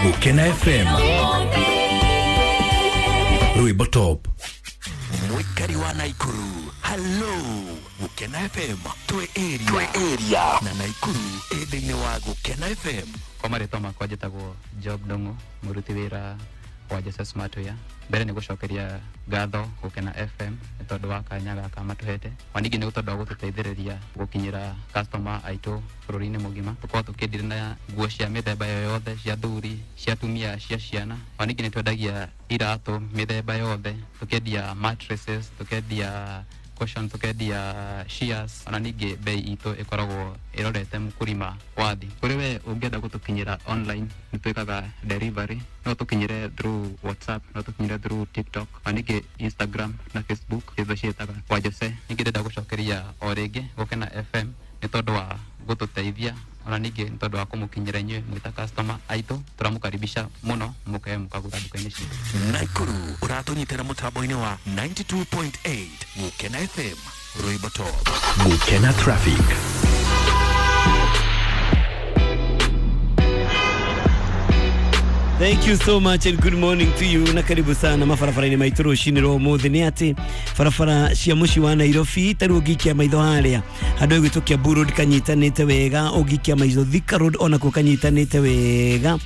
Gukena FM Rwimbo Top. Mwikari wa Naikuru, hello Gukena FM twe area na Naikuru ĩ thĩinĩ wa Gukena FM. Kwa marĩtwa makwa njĩtagwo Job Ndung'u, mũruti wĩra wa Jose Smartwear. Mbere nĩ gũcokeria ngatho Gukena FM nĩ tondũ wa kanya gaka matũhete, na ningĩ nĩ tondũ wa gũtũteithĩrĩria gũkinyĩra customer aitũ bũrũri-inĩ mũgima. Tũkoragwo tũkĩendire na nguo cia mĩthemba yothe, cia athuri, cia atumia, cia ciana. Na ningĩ nĩ twendagia iratũ mĩthemba yothe, tũkendia mattresses, tũkendia cushion, tukendia shears, ona ningĩ bei itũ ĩkoragwo ĩrorete mũkũrima wa thĩ. Kũrĩ we ũngĩenda gũtũkinyĩra online, nĩ twĩkaga delivery, no tũkinyĩre through WhatsApp, no tũkinyĩre through TikTok, na ningĩ Instagram na Facebook, itho ciĩtaga wa Jose. Ningĩ ndĩrenda gũcokeria o rĩngĩ Gũkena FM nĩ tondũ wa gũtũteithia, ona ningĩ nĩ tondũ wa kũmũkinyĩra inyuĩ mwĩ ta customer aitũ. Tũramũkaribisha mũno mũke mũkagũra nduka-inĩ citũ. Naikuru ũratũnyitĩra mũtambo-inĩ wa 92.8 Gukena FM Rwimbo Top. Gukena Traffic. Thank you so much and good morning to you, na karibu sana mabarabara-inĩ maitũ rũcinĩ rwa ũmũthĩ. Nĩ atĩ barabara cia mũciĩ wa Nairobi ta rĩu ũngĩikia maitho harĩa handũ ĩgwĩtwo Kiambu Road kanyitanĩte wega, ũngĩikia maitho Thika Road onakuo kanyitanĩte wega.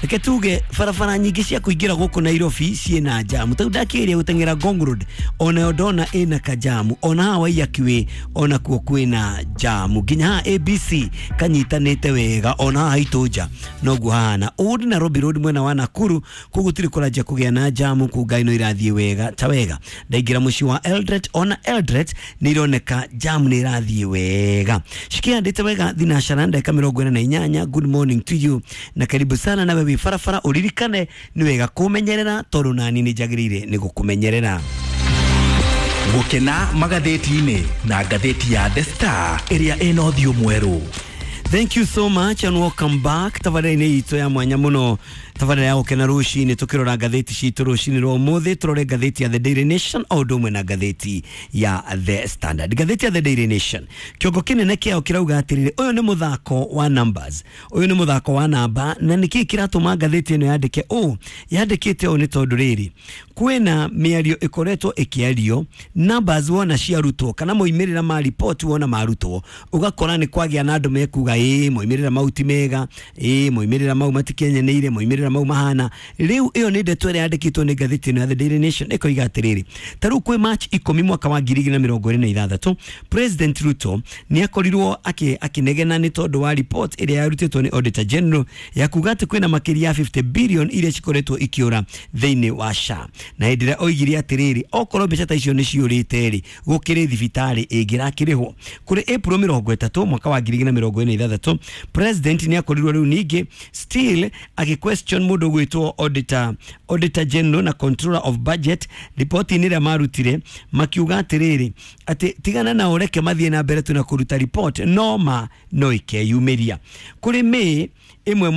Reke tuge barabara nyingĩ cia kũingĩra gũkũ Nairobi ciĩna jamu. Ta rĩu ndakĩgeria gũteng'era Ngong Road onayo ndona ĩna kajamu, ona haha Waiyaki Way onakuo kwĩna jamu, nginya haha ABC kanyitanĩte wega, ona haha haitũ nja noguo hahana. Old Nairobi Road mwena wa Nakuru kũu gũtirĩ kũranjia kũgĩa na jamu, kũu ngari no irathiĩ wega ta wega. Ndaingĩra mũciĩ wa Eldoret, ona Eldoret nĩ ironeka jamu nĩ irathiĩ wega, cikĩhandĩte wega thinacara ndagĩka 48. Good morning to you na karibu sana nawe wĩ barabara, ũririkane nĩ wega kũmenyerera tondũ nani nĩ njagĩrĩire nĩ gũkũmenyerera. Gukena magathĩti-inĩ na ngathĩti ya The Star ĩrĩa ĩna ũthiũ mwerũ. Thank you so much and welcome back. Tabarĩra-inĩ itũ ya mwanya mũno, tabarĩra ya gũkena rũcinĩ, tũkĩrora ngathĩti citũ rũcinĩ rwa ũmũthĩ. Tũrore ngathĩti ya The Daily Nation o ũndũ ũmwe na ngathĩti ya The Standard. Ngathĩti ya The Daily Nation kĩongo kĩnene kĩao kĩrauga atĩrĩrĩ, ũyũ nĩ mũthako wa numbers, ũyũ nĩ mũthako wa namba. Na nĩkĩĩ kĩratũma ngathĩti ĩno yandĩke ũũ? Yandĩkĩte ũũ nĩ tondũ rĩrĩ, kwĩna mĩario ĩkoretwo ĩkĩario, numbers wona ciarutwo kana moimĩrĩra ma report wona marutwo, ũgakora nĩ kwagĩa na andũ mekuga ĩĩ moimĩrĩra mau ti mega, ĩĩ moimĩrĩra mau matikenyanĩire, moimĩrĩra mau mahana. Rĩu ĩyo nĩ ndeto ĩrĩa yandĩkĩtwo nĩ ngathĩti ĩno ya The Daily Nation, ĩkoiga atĩrĩrĩ, ta rĩu kwĩ March 10 mwaka wa 2026, President Ruto nĩ akorirwo akĩnegena nĩ tondũ wa report ĩrĩa yarutĩtwo nĩ Auditor General ya kuga atĩ kwĩna makĩria ya 50 billion iria cikoretwo ikĩũra thĩinĩ wa SHA. Na hĩndĩ ĩrĩa oigire atĩrĩrĩ, okorwo mbeca ta icio nĩ ciũrĩte rĩ, gũkĩrĩ thibitarĩ ĩngĩrakĩrĩhwo. Kũrĩ April 30 mwaka wa 2026, President nĩ akorirwo rĩu ningĩ still agĩ question mũndũ ũgwĩtwo Auditor General na Controller of Budget ripoti-inĩ ĩrĩa marutire, makiuga atĩrĩrĩ, atĩ tigana na ũreke mathiĩ na mbere tu na kũruta report, no ma no ikeyumĩria. Kũrĩ May ĩmwe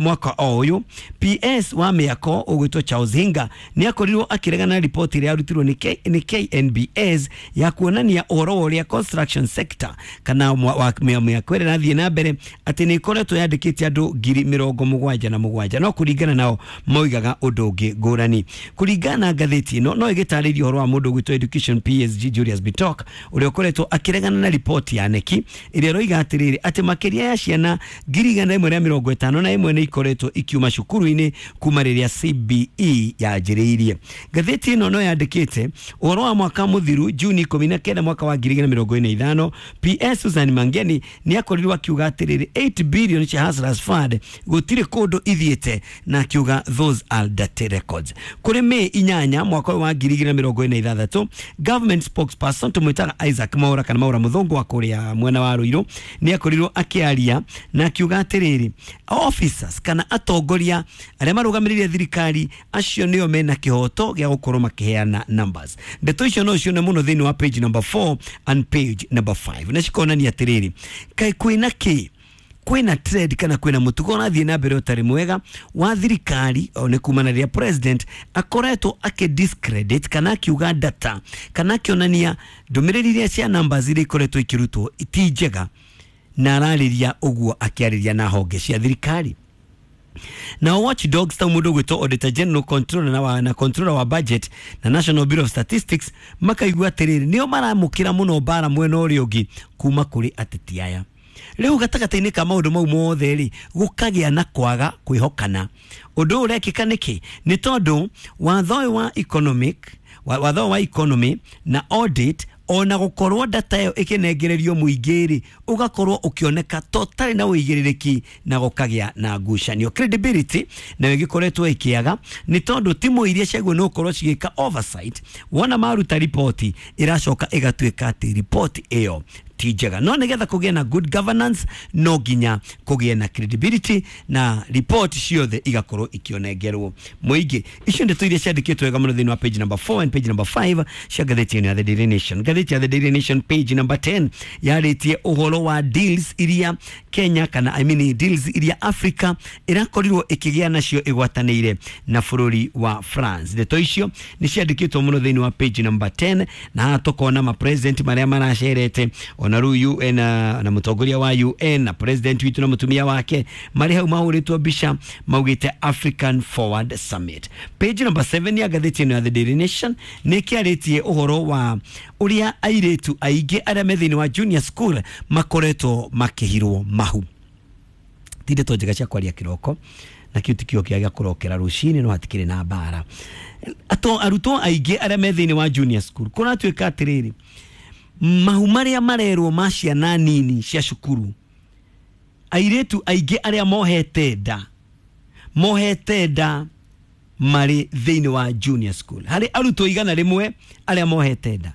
mwaka o ũyũ, PS wa mĩako ũgwĩtwo Charles Hinga nĩ akorirwo akĩregana na ripoti ĩrĩa yarutirwo nĩ KNBS ya kuonania ũhoro wa ũrĩa construction sector kana mĩako ĩrĩa ĩrathiĩ na mbere atĩ nĩ ĩkoretwo yandĩkĩte andũ 77,000, no kũringana nao moigaga ũndũ ũngĩ ngũrani. Kũringana na ngathĩti ĩno no ĩgĩtarĩria ũhoro wa mũndũ ũgwĩtwo Education PSG Julius Bitok ũrĩa ũkoretwo akĩregana na ripoti ya KNEC ĩrĩa ĩroiga atĩrĩrĩ, atĩ makĩria ya ciana 151 nĩ ikoretwo ikiuma cukuru-inĩ kuma rĩrĩa CBE yanjĩrĩirie. Ngathĩti ĩno no yandĩkĩte ũhoro wa mwaka mũthiru Juni 19 mwaka wa 2025, PS Susan Mangeni nĩ akorirwo akiuga atĩrĩrĩ, 8 billion cia Hustlers Fund gũtirĩ kũndũ ithiĩte, na akiuga those are dirty records. Kũrĩ May 8 mwaka wa 2026, government spokesperson tũmwĩtaga Isaac Mwaura kana Mwaura Mũthũngũ wa kũrĩa mwena wa Ruiru nĩ akorirwo akĩaria na akiuga atĩrĩrĩ, officers kana atongoria arĩa marũgamĩrĩire thirikari acio nĩo mena kĩhoto gĩa gũkorwo makĩheana numbers. Ndeto icio no cione mũno thĩinĩ wa page number 4 and page number 5, na cikonania atĩrĩrĩ, kaĩ kwĩna kĩ, kwĩna trend kana kwĩna mũtugo ũrathiĩ na mbere ũtarĩ mwega wa thirikari, o nĩ kumana rĩrĩa president akoretwo akĩ discredit kana akiuga data kana akĩonania ndũmĩrĩri iria cia numbers iria ikoretwo ikĩrutwo ti njega, na ararĩria ũguo akĩarĩria na honge cia thirikari. Na watchdogs ta mundu gwitwo Auditor General, Controller na Controller wa Budget na National Bureau of Statistics makaigua atiriri nio maramukira muno mbara mwena uria ungi kuma kuri ateti aya. Riu gatagati-inĩ ka maũndũ mau mothe rĩ, gũkagĩa na kwaga kwĩhokana. Ũndũ ũyũ ũrekĩka nĩkĩ? Nĩ tondũ watho ũyũ wa economic watho wa economy na audit, ona gũkorwo data ĩyo ĩkĩnengererio mũingĩ rĩ, ũgakorwo ũkĩoneka totally na ũigĩrĩrĩki na gũkagĩa na ngucanio. Credibility nayo ĩgĩkoretwo ĩkĩaga nĩ tondũ timu iria ciagwo nĩ gũkorwo cigĩka oversight, wona maruta riboti ĩracoka ĩgatuĩka atĩ riboti ĩyo ti njega. No nĩgetha kũgĩe na good governance no nginya kũgĩe na credibility na report ciothe igakorwo ikĩonengerwo mũingĩ. Icio ndeto iria ciandĩkĩtwo wega mũno thĩinĩ wa page number 4 and page number 5 cia ngathĩti ĩno ya The Daily Nation. Ngathĩti ya The Daily Nation page number 10 yarĩtie ũhoro wa deals iria Kenya kana I mean deals iria Africa ĩrakorirwo ĩkĩgĩa nacio ĩgwatanĩire na bũrũri wa France. Ndeto icio nĩ ciandĩkĩtwo mũno thĩinĩ wa page number 10, na haha tũkona ma president marĩa maracerete, ona rĩu UN na mũtongoria wa UN na president witũ na mũtumia wake marĩ hau mahũrĩtwo mbica maugĩte African Forward Summit. Page number 7 ya ngathĩti ĩno ya The Daily Nation nĩ kĩarĩtie ũhoro wa ũrĩa airĩtu aingĩ arĩa me thĩinĩ wa junior school makoretwo makĩhirwo mahu. Ti ndeto njega cia kwaria kĩroko, na kĩu ti kĩo kĩa kũrokera rũcinĩ, no hatikĩrĩ na mbara. Arutwo aingĩ arĩa me thĩinĩ wa junior school kũratuĩka atĩrĩrĩ, mahu marĩa marerwo ma ciana nini cia cukuru, airĩtu aingĩ arĩa mohete nda marĩ thĩinĩ wa junior school. Harĩ arutwo 100 arĩa mohete nda,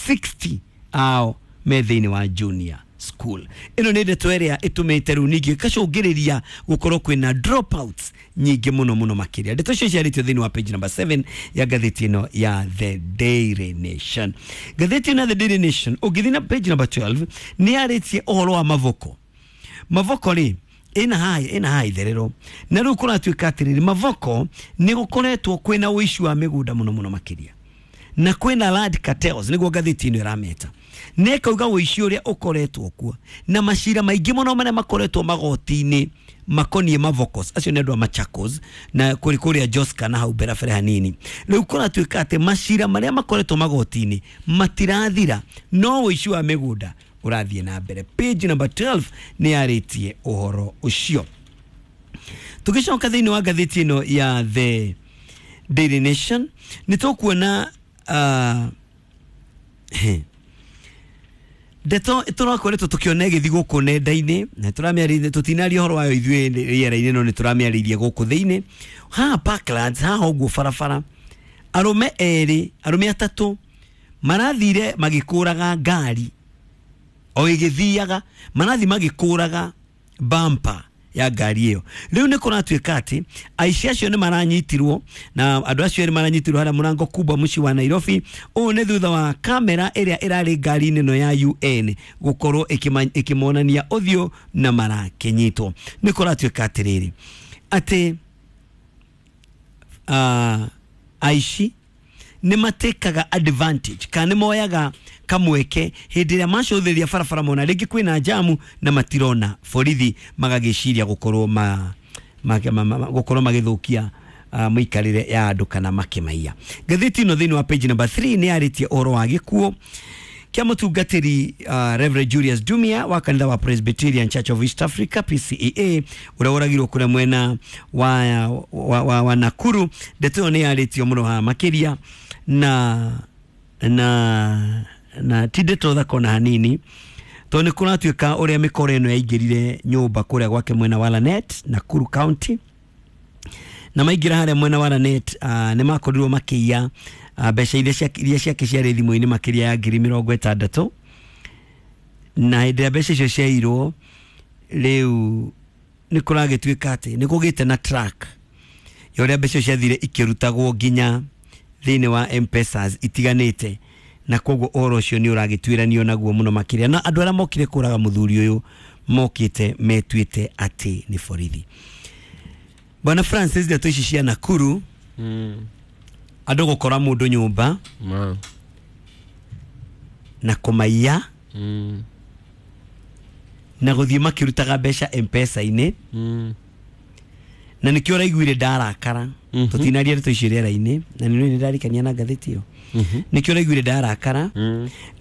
60 ao me thĩinĩ wa junior school. Ĩno nĩ ndeto ĩrĩa ĩtũmĩte rĩu ningĩ ĩgacũngĩrĩria gũkorwo kwĩna dropouts nyingĩ mũno mũno makĩria. Ndeto icio ciarĩtio thĩinĩ wa page number 7 ya ngathĩti ĩno ya The Daily Nation. Ngathĩti ĩno ya The Daily Nation ũngĩthiĩ na page number 12 nĩ yarĩtie ũhoro wa Mavoko. Mavoko rĩ ĩna haha itherero, na rĩu kũratuĩka atĩrĩrĩ, Mavoko nĩ gũkoretwo kwĩna ũici wa mĩgũnda mũno mũno makĩria, na kwĩna land cartels nĩguo ngathĩti ĩno ĩrameta, na ĩkauga ũici ũrĩa ũkoretwo kuo na macira maingĩ mũno marĩa makoretwo magoti-inĩ makoniĩ Mavokos. Acio nĩ andũ a Machakos na kũrĩ kũrĩa Joska na hau mbere hanini. Rĩu kũratuĩka atĩ macira marĩa makoretwo magoti-inĩ matirathira, no ũici wa mĩgũnda ũrathiĩ na mbere. Page number 12 nĩ yarĩtie ũhoro ũcio. Tũgĩcoka thĩinĩ wa ngathĩti ĩno ya The Daily Nation nĩ tũkuona ndeto tũrakoretwo tũkĩona ĩgĩthiĩ gũkũ nenda-inĩ, na tũramĩarĩria, tũtinaria ũhoro wayo ithuĩ rĩera-inĩ, no nĩ tũramĩarĩirie gũkũ thĩinĩ. Haha Parklands, haha ũguo barabara, arũme erĩ, arũme atatũ marathire magĩkũraga ngari o ĩgĩthiaga, marathi magĩkũraga bumper ya ngari ĩyo. Rĩu nĩ kũratuĩka atĩ aici acio nĩ maranyitirwo, na andũ acio erĩ maranyitirwo harĩa mũrango kubwa mũciĩ wa Nairobi. Ũũ nĩ thutha wa kamera ĩrĩa ĩrarĩ ngari-inĩ ĩno ya UN gũkorwo ĩkĩmonania ũthiũ na marakĩnyitwo. Nĩ kũratuĩka atĩrĩrĩ atĩ aici nĩ matekaga advantage kana nĩ moyaga kamweke hĩndĩ ĩrĩa macũthĩrĩria barabara mona rĩngĩ kwĩna jamu na matirona borithi, magagĩciria gũkorwo gũkorwo magĩthũkia mũikarĩre ya andũ kana makĩmaiya. Ngathĩti ĩno thĩinĩ wa page number 3 nĩ yarĩtie ũhoro wa gĩkuũ kĩa mũtungatĩri Reverend Julius Dumia wa kanitha wa Presbyterian Church of East Africa PCEA, ũrĩa ũragirwo kũrĩa mwena wa Nakuru. Ndeto ĩyo nĩ yarĩtio mũno haha makĩria, na ti ndeto thaka ona hanini, tondũ nĩ kũratuĩka ũrĩa mĩkora ĩno yaingĩrire nyũmba kũrĩa gwake mwena wa Lanet, Nakuru County, na maingĩra harĩa mwena wa Lanet nĩ makorirwo makĩiya mbeca iria ciake ciarĩ thimũ-inĩ makĩria ya 60,000, na hĩndĩ ĩrĩa mbeca icio ciairwo rĩu nĩ kũragĩtuĩka atĩ nĩ kũgĩte na track ya ũrĩa mbeca icio ciathire ikĩrutagwo nginya thĩinĩ wa M-Pesas itiganĩte, na koguo ũhoro ũcio nĩ ũragĩtuĩranio naguo mũno makĩria, na andũ arĩa mokire kũraga mũthuri ũyũ mokĩte metuĩte atĩ nĩ borithi. Bwana Francis, ndeto ici cia Nakuru, andũ gũkora mũndũ nyũmba na kũmaiya na gũthiĩ makĩrutaga mbeca M-Pesa-inĩ, Na nĩkĩo ũraiguire ndarakara. Tũtinaria ndeto ici rĩera-inĩ na nĩ ndarikania na ngathĩti ĩyo. Nĩkĩo ũraiguire ndarakara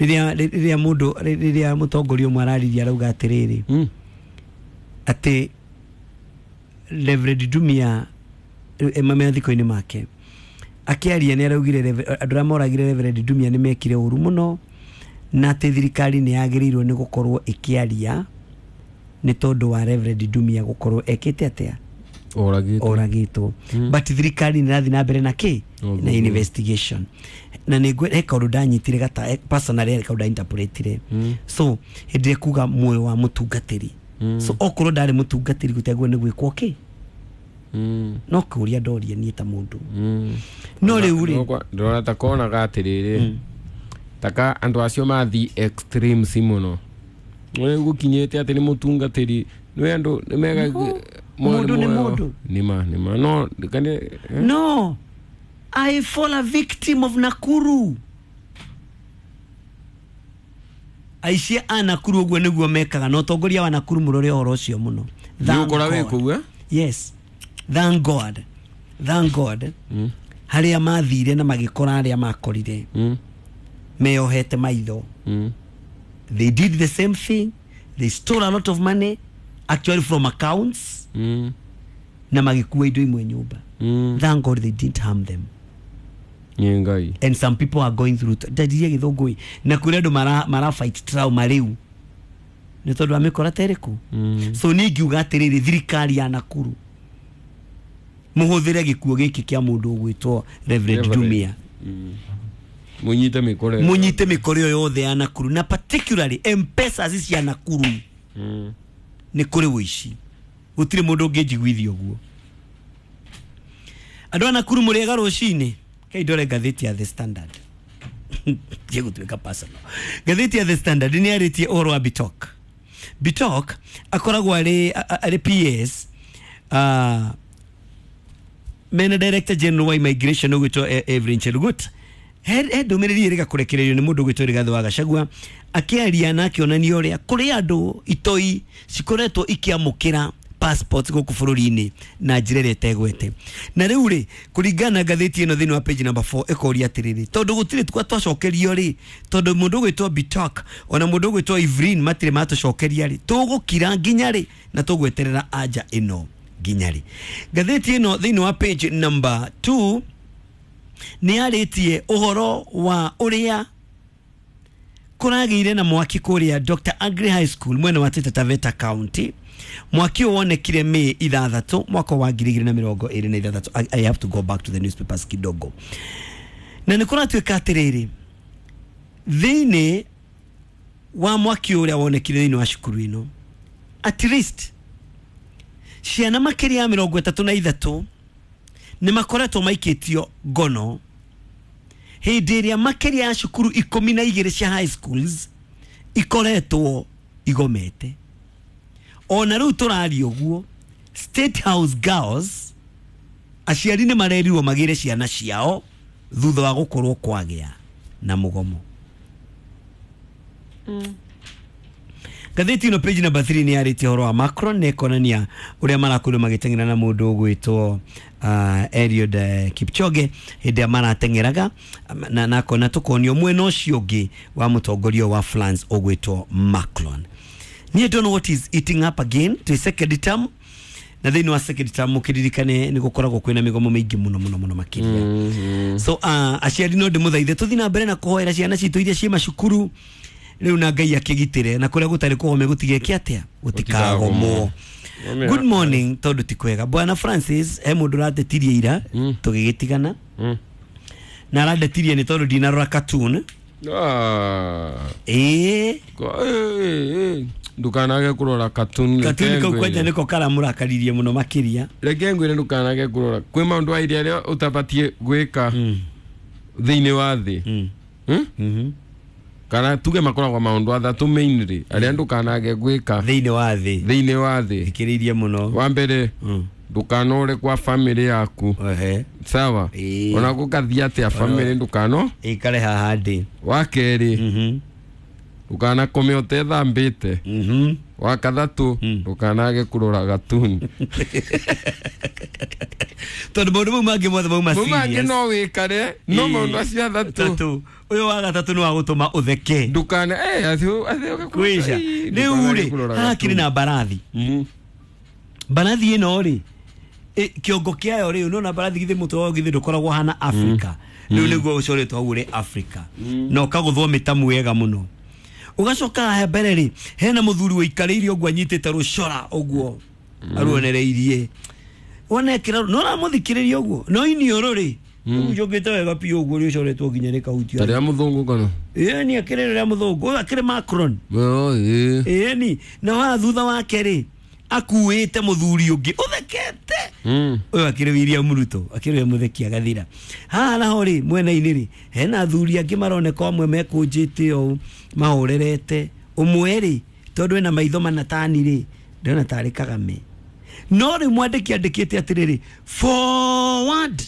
rĩrĩa mũndũ rĩrĩa mũtongoria ũmwe araririe arauga atĩrĩrĩ atĩ Reverend Ndumia mathiko-inĩ make akĩaria nĩ araugire andũ arĩa moragire Reverend Ndumia nĩ mekire ũru mũno na atĩ thirikari nĩ yagĩrĩirwo nĩ gũkorwo ĩkĩaria nĩ tondũ wa Reverend Ndumia gũkorwo ekĩte atĩa oragĩtwo. But thirikari nĩ ĩrathiĩ na mbere na kĩ na investigation. Na nĩ he kaũndũ ndanyitire gata personally he kaũndũ ndainterpretire. So hĩndĩ ĩrĩa kuga muoyo wa mũtungatĩri, so okorwo ndarĩ mũtungatĩri gũtegwo nĩ gwĩkwo kĩ no kũria ndoria niĩ ta mũndũ. No rĩu rĩ ndĩrona ta konaga atĩrĩrĩ taka andũ acio mathi extremes mũno gũkinyĩte atĩ nĩ mũtungatĩri nĩ andũ nĩ mega mũndũ nĩ mũndũ nĩma no no I fall a victim of Nakuru. Aici a Nakuru ũguo nĩguo mekaga na ũtongoria wa Nakuru mũrore ũhoro ũcio mũno. Nĩũkora wĩ kũu? Yes. Thank God. Thank God. Harĩa mathire na magĩkora arĩa makorire meyohete maitho. They did the same thing. They stole a lot of money actually from accounts. Na magĩkua indo imwe nyũmba. Thank God they didn't harm them. Ngai. And some people are going through ndadirie gĩthũngũ na kũrĩ andũ mara fight trauma rĩu nĩ tondũ wa mĩkora ta ĩrĩkũ. So niĩ ngiuga atĩrĩrĩ thirikari ya Nakuru mũhũthĩre gĩkuo gĩkĩ kĩa mũndũ ũgwĩtwo Reverend Ndumia. Mũnyite mĩkora ĩyo yothe ya Nakuru na particularly M-Pesa cia Nakuru. Nĩ kũrĩ ũici gũtirĩ mũndũ ũngĩnjiguithia ũguo. Andũ a Nakuru mũrĩega rũcinĩ. Kai ndore ngathĩti ya The Standard. Gĩgũtuĩka personal. Ngathĩti ya The Standard nĩ yarĩtie ũhoro wa Bitok. Bitok akoragwo arĩ PS mena Director General wa Immigration ũgwĩtwo Evelyn Cherugut. He ndũmĩrĩri ĩrĩga kũrekererio nĩ mũndũ ũgwĩtwo Rigathĩ wa Gachagua akĩaria na akĩonania ũrĩa kũrĩ andũ itoi cikoretwo ikĩamũkĩra passports gũkũ bũrũri-inĩ na njĩra ĩrĩa ĩtegwete. Na rĩu rĩ kũringana na ngathĩti ĩno thĩinĩ wa page number 4 ĩkoria atĩrĩrĩ tondũ gũtirĩ twacokerio rĩ tondũ mũndũ ũgwĩtwo Bitok ona mũndũ ũgwĩtwo Evelyn matirĩ matũcokeria rĩ tũgũkira nginya rĩ na tũgweterera anja ĩno nginya rĩ. Ngathĩti ĩno thĩinĩ wa page number 2 nĩ yarĩtie ũhoro wa ũrĩa kũragĩire na mwaki kũrĩa Dr. Agri High School mwena wa Taita Taveta County. Mwaki wonekire Mei 6 mwaka wa 2026. I have to go back to the newspapers kidogo. Na nĩ kũratuĩka atĩrĩrĩ thĩinĩ wa mwaki ũrĩa wonekire thĩinĩ wa cukuru ĩno at least ciana makĩria ya 33 nĩ makoretwo maikĩtio ngono hĩndĩ ĩrĩa makĩria ya cukuru 12 cia high schools ikoretwo igomete. Ona rĩu tũraria ũguo State House Girls aciari nĩ marerirwo magĩre ciana ciao thutha wa gũkorwo kwagĩa na mũgomo. Ngathĩti ĩno page number 3 nĩ yarĩtie ũhoro wa Macron na ĩkonania ũrĩa marakorirwo magĩteng'era na mũndũ ũgwĩtwo Eliud Kipchoge hĩndĩ ĩrĩa marateng'eraga na akona tũkonio mwena ũcio ũngĩ wa mũtongoria wa France ũgwĩtwo Macron. Niĩ don't know what is eating up again to second term na thĩinĩ wa second term mũkĩririkane nĩ gũkoragwo kwĩna mĩgomo mĩingĩ mũno mũno mũno makĩria. So aciari no ndĩmũthaithe tũthiĩ na mbere na kũhoera ciana citũ iria ciĩ macukuru rĩu na Ngai akĩgitĩre na kũrĩa gũtarĩ kũgome gũtigeke atĩa gũtikagomwo. Good morning tondũ ti kwega. Bwana Francis he mũndũ ũratetirie ira tũgĩgĩtigana na arandetirie nĩ tondũ ndinarora cartoon. Ndukanage kurora cartoon. Cartoon kau kwanja niko karamũrakaririe mũno makĩria. Reke ngwĩre ndukanage kurora kwĩ maũndũ airia arĩa ũtabatiĩ gwĩka thĩinĩ wa thĩ. Kana tuge makoragwo maũndũ athatũ mainly arĩa ndukanage gwĩka thĩinĩ wa thĩ. Thĩinĩ wa thĩ thikĩrĩirie mũno. Wa mbere ndukanore kwa family yaku. Sawa. Ona gũgathiĩ atĩa family ndukano ikare haha ndĩ. Wa kerĩ Ndukanakome utethambite. Wa kathatu, ndukanage kurora gatuni. Tondu maundu mau mangĩ mothe mauma Mau mangĩ serious. no wikare, no maundu acio athatu. Tatu. Ũyũ wa gatatũ nĩ wa gũtũma ũtheke. Ndukana acio acio Kwĩca. Rĩu rĩ, haha kĩrĩ na mbarathi. Mbarathi ĩno rĩ, kĩongo kĩayo rĩ, nona mbarathi githĩ mũtwe wayo githĩ ndũkoragwo hana Africa. Rĩu nĩguo ũcoretwo hau ũrĩ Africa. Na ũkagũthwo mĩtamu wega mũno. Ũgacoka haha mbere rĩ, hena mũthuri ũikarĩire ũguo anyitĩte rũcora ũguo aruonereirie. Wona ekĩra no ũramũthikĩrĩria ũguo, no iniũrũ rĩ, ũcokete wega biũ ũguo rĩcoretwo nginya rĩkahutia. Tarĩa mũthũngũ kana? Ĩni akĩrĩ rĩrĩa mũthũngũ, ũyũ akĩrĩ Macron. Oh, ĩĩ. Ĩni, na haha thutha wake rĩ, akuĩte mũthuri ũngĩ ũthekete. Ũyũ akĩrĩ William Ruto, akĩrĩ we mũtheki agathira. Haha naho rĩ, mwena-inĩ rĩ, hena athuri angĩ maroneka amwe mekũnjĩte ũũ, mahorerete. Ũmwe rĩ, tondũ ena maitho mana tani rĩ, ndĩrona tarĩ Kagame. No rĩu mwandĩki andĩkĩte atĩrĩrĩ, forward.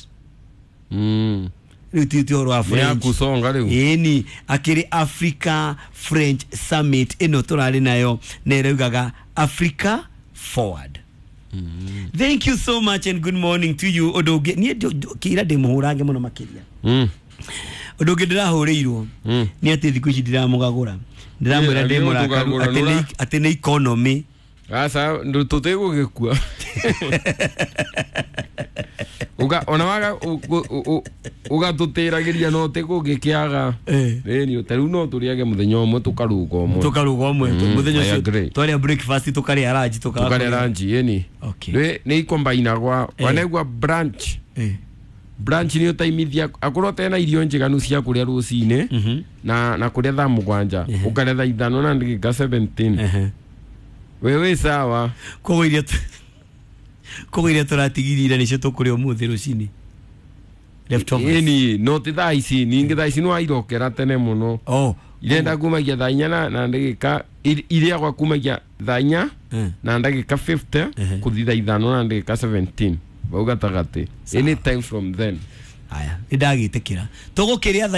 Rĩu ti ũhoro wa Nĩ ya French. kusonga rĩu. Ĩni, akĩrĩ Africa French Summit ĩno tũrarĩ nayo na ĩraugaga Africa Forward. Thank you so much and good morning to you. Ũndũ ũngĩ niĩ kĩira ndĩ mũhũrange mũno makĩria. Ũndũ ũngĩ ndĩrahũrĩirwo nĩ atĩ thikũ ici ndiramũgagũra, ndĩramwĩra Ĩ, ndĩ mũrakaru ũtũgagũra, atĩ atĩ nĩ economy. Aca tũtigũgĩkua. Uga ona waga ugatũtĩragĩria no tĩkũngĩkĩaga. Ĩni ta rĩu no tũrĩage mũthenya ũmwe tũkaruga ũmwe. Tũkaruga ũmwe mũthenya I ũcio agree. twarĩa breakfast, tũkarĩa lunch, tũkaga Tũkarĩa kũrĩa. lunch ĩni. Okay. Nĩ ikombainagwa wanegua brunch. Brunch nĩ ũtaimithia akorwo tena irio njiganu cia kũrĩa rũcinĩ na kũrĩa thaa 7 ũkarĩa thaa 5 na ndagĩka 17. We wĩ sawa. Koguo iria tũratigithire nĩcio tũkũrĩa ũmũthĩ rũcinĩ, leftovers. Ĩni no ti thaa ici, ningĩ thaa ici nĩ wairokera tene mũno. Oh. Irenda kumagia thaa 4 na ndagĩka irĩagwa kumagia thaa 4 na ndagĩka 50 kũthi thaa 5 na ndagĩka 17 bau gatagatĩ, any time from then. Haya, nĩ ndagĩtĩkĩra tũgũkĩrĩa thaa